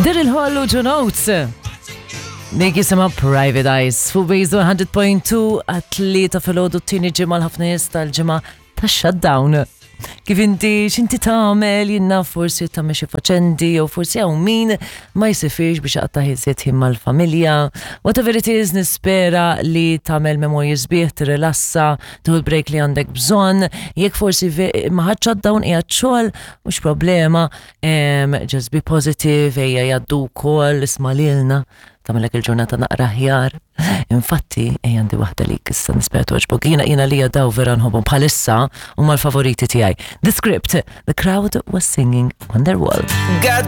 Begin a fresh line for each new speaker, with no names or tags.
Daryl Hall u John Oates. Dik jisimha Private Eyes fuq Base 100.2 għat-tlieta filgħodu t-tieni ġimgħa l-ħafna nies tal-ġimgħa tax-shutdown. Kif inti x'inti tagħmel jien naf forsi tagħmel xi faċendi jew forsi hawn min ma jsifirx biex iqatta' iżjed ħin mal-familja. Whatever it is nispera li tagħmel memorji sbieħ, tirrilassa, tieħu l-break li għandek bżonn. Jekk forsi ma ħadx shutdown qiegħed xogħol, mhux problema, Just be positive, ejja jgħaddu wkoll, isma' lilna, tagħmilek il-ġurnata naqra aħjar. Infatti, ejja għandi waħda lik issa nispera togħġbok. Jiena jiena lija daw vera nħobbhom bħalissa huma l-favoriti tiegħi. The script, the crowd was singing Wonderwall.
Got